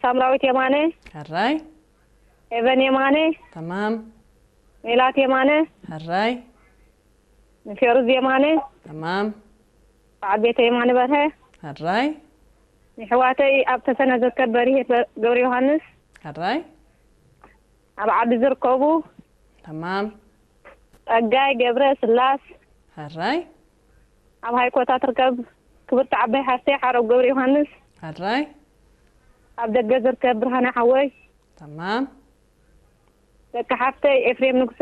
ሳምራዊት የማነ፣ ሕራይ ኤቨን የማነ፣ ተማም ሜላት የማነ፣ ሕራይ ፌሩዝ የማነ፣ ተማም በዓል ቤተ የማነ በርሀ፣ ሕራይ ንሕዋተይ ኣብ ተፈነ ዝርከብ በሪሄት ገብረ ዮሃንስ፣ ሕራይ ኣብ ዓዲ ዝርከቡ ተማም ጸጋይ ገብረ ስላስ፣ ሕራይ ኣብ ሃይኮታ ትርከብ ክብርቲ ዓባይ ሓፍተይ ሓረው ገብረ ዮሃንስ፣ ሕራይ ኣብ ደገ ዝርከብ ብርሃነ ሓወይ፣ ተማም ደቂ ሓፍተይ ኤፍሬም ንጉሰ፣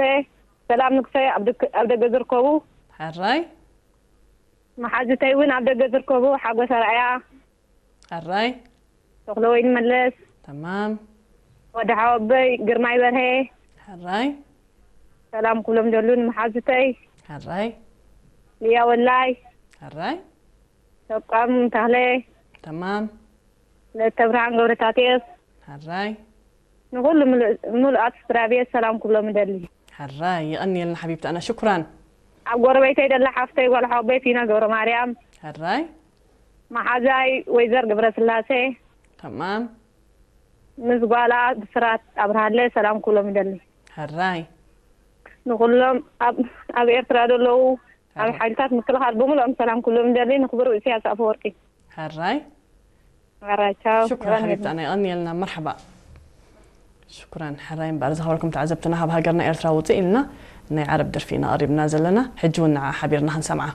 ሰላም ንጉሰ ኣብ ደክ- ኣብ ደገ ዝርከቡ፣ ሕራይ መሓዙተይ እውን ኣብ ደገ ዝርከቡ፣ ሓጎስ ኣርኣያ፣ ሕራይ ተኽለወይኒ መለስ፣ ተማም ወዲ ሓወበይ ግርማይ በርሀ፣ ሕራይ ሰላም ኩሎም ደሉ ንመሓዙተይ፣ ሕራይ ልያ ወላይ፣ ሕራይ ሰቃም ተኽለ፣ ተማም ለተ ብርሃን ገብረታቴዎስ፣ ሕራይ ንኹሉ ምሉእ- ምሉኣት ስድራ ቤት ሰላም ኩሎም እደሊ። ሕራይ የቐንየልና ሓቢብቲ ኣና ሽኩራን ኣብ ጎረቤተይ ደላ ሓፍተይ ጓል ሓወበይ ፊና ገብረ ማርያም፣ ሕራይ መሓዛይ ወይዘር ገብረ ስላሴ፣ ተማም ምስ ጓላ ብስራት ኣብርሃለ ሰላም ኩሎም እደሊ። ሕራይ ንኹሎም ኣብ- ኣብ ኤርትራ ዘለዉ ኣብ ሓይልታት ምክልኻል ብምሉኦም ሰላም ኩሎም እደሊ። ንክቡር ኢሳያስ ኣፈወርቂ ሕራይ ሕራይ ቻው። ሽኩራን ሓቢብቲ ኣና የቐንየልና መርሓባ ሽኩራን ሕራይ እምበኣር ዝኸበርኩም ተዓዘብትና ካብ ሃገርና ኤርትራ ውፅእ ኢልና ናይ ዓረብ ደርፊ ኢና ቀሪብና ዘለና ሕጂ እውን ንዓ ሓቢርና ክንሰምዓ